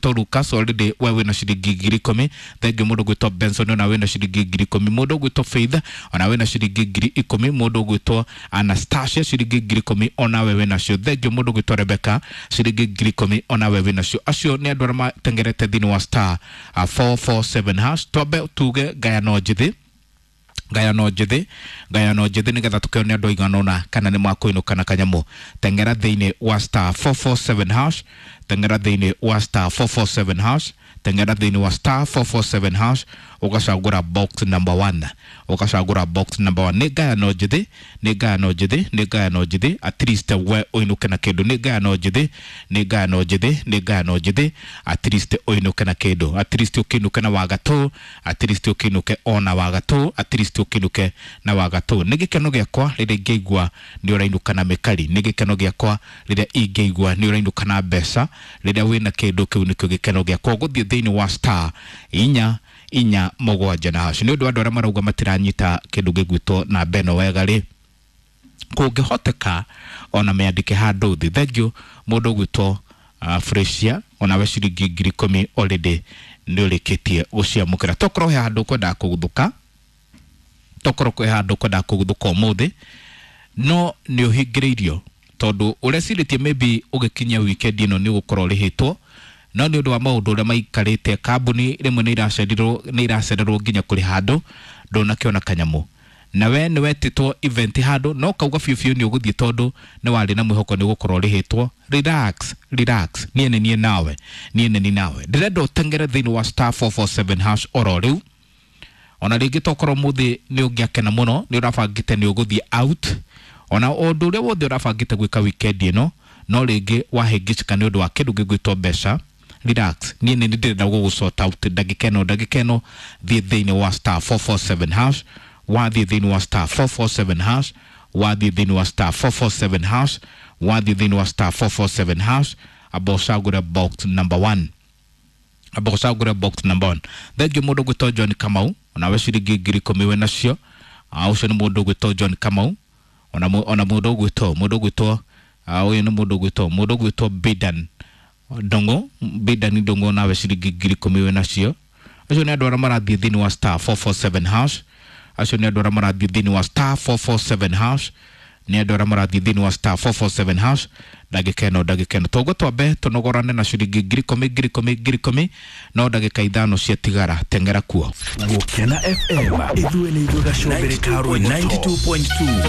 ũgwĩtwo Lucas already we wĩna ciringi 10,000. Thengiũ mũndũ ũgwĩtwo Benson ona wĩna ciringi 10,000. Mũndũ ũgwĩtwo Faith ona wĩna ciringi 10,000. Mũndũ ũgwĩtwo Anastasia ciringi 10,000 onawe wĩnacio. Thengiũ mũndũ ũgwĩtwo Rebecca ciringi 10,000 onawe wĩnacio. Acio nĩ andũ arĩa matengerete thĩinĩ wa star 447 hash. Twambe tuge ngayano njĩthĩ, ngayano njĩthĩ, ngayano njĩthĩ nĩgetha tũkĩone andũ aigana ũna kana nĩ makũinũka na kanyamũ. Tengera thĩinĩ wa star 447 hash, tengera thĩinĩ wa star 447 hash, tengera thĩinĩ wa star 447 hash, ũgacagũra box number 1, ũgacagũra box number 1. Nĩ ngayano njĩthĩ, nĩ ngayano njĩthĩ, nĩ ngayano njĩthĩ, at least we ũinũke na kĩndũ. Nĩ ngayano njĩthĩ, nĩ ngayano njĩthĩ, nĩ ngayano njĩthĩ, at least ũinũke na kĩndũ, at least ũkĩinũke na wagatũ, at least ũkĩinũke ona wagatũ, at least ũkĩinũke na wagatũ. Nĩ gĩkeno gĩakwa rĩrĩa ingĩigua nĩ ũrainũka na mĩkari, nĩ gĩkeno gĩakwa rĩrĩa ingĩigua nĩ ũrainũka na mbeca, rĩrĩa wĩna kĩndũ kĩu nĩkĩo gĩkeno gĩakwa. Gũthiĩ thĩinĩ wa star 447 na hash. Nĩ ũndũ wa andũ arĩa marauga matiranyita kĩndũ gĩgwĩtwo namba ĩno wega rĩ, kũngĩhoteka ona mĩandĩke handũ thĩ. Thengiũ mũndũ ũgwĩtwo Fresia onawe ciringi 10,000 already nĩ ũrĩkĩtie gũciamũkĩra. Tokorwo he handũ ũkwendaga kũguthũka, tokorwo kwĩ handũ ũkwendaga kũguthũka ũmũthĩ, no nĩ ũhingĩrĩirio tondũ ũrecirĩtie maybe ũgĩkinyia weekend ĩno nĩ ũgũkorwo ũrĩhĩtwo, no nĩ ũndũ wa maũndũ ũrĩa maikarĩte kambuni rĩmwe nĩ iracererwo, nĩ iracererwo nginya kũrĩha andũ, ndũnakĩona kanyamũ. Na we nĩ wetĩtwo event handũ no kauga biũ biũ nĩ ũgũthiĩ tondũ nĩ warĩ na mwĩhoko nĩ ũgũkorwo ũrĩhĩtwo. Relax, relax, niĩ nĩ niĩ nawe, niĩ nĩ niĩ nawe. Ndĩrenda ũtengere thĩinĩ wa star 447 hash oro rĩu. Ona rĩngĩ tokorwo mũthĩ nĩ ũngĩakena mũno nĩ ũrabangĩte nĩ ũgũthiĩ out, ona ũndũ ũrĩa wothe ũrabangĩte gwĩka weekend ĩno, no rĩngĩ wahĩngĩcĩka nĩ ũndũ wa kĩndũ gĩgwĩtwo mbeca. Relax, niĩ nĩ ndĩrenda gũgũ sort out ndagĩka ĩno, ndagĩka ĩno. Thiĩ thĩinĩ wa star 447 hash, wathiĩ thĩinĩ wa star 447 hash, wathiĩ thĩinĩ wa star 447 hash, wathiĩ thĩinĩ wa star 447 hash, amba ũcagũre box number 1, amba ũcagũre box number 1. Thengiũ mũndũ ũgwĩtwo John Kamau onawe ciringi 10,000 wĩ nacio. Ũcio nĩ mũndũ ũgwĩtwo John Kamau, ona mũndũ ũgwĩtwo, mũndũ ũgwĩtwo, ũyũ nĩ mũndũ ũgwĩtwo, mũndũ ũgwĩtwo Bidan Ndong'o, Bidan Ndong'o nawe ciringi 10,000 wĩ nacio. Acio nĩ andũ arĩa marathiĩ thĩinĩ wa star 447 hash, acio nĩ andũ arĩa marathiĩ thĩinĩ wa star 447 hash, nĩ andũ arĩa marathiĩ thĩinĩ wa star 447 hash. Ndagĩka ĩno, ndagĩka ĩno toguo twambe tũnogorane na ciringi 10,000, 10,000, 10,000, no ndagĩka 5 ciatigara, tengera kuo. Gũkena FM, ithuĩ nĩ ithuĩ gacũmbĩrĩ ka rwĩmbo. 92.2.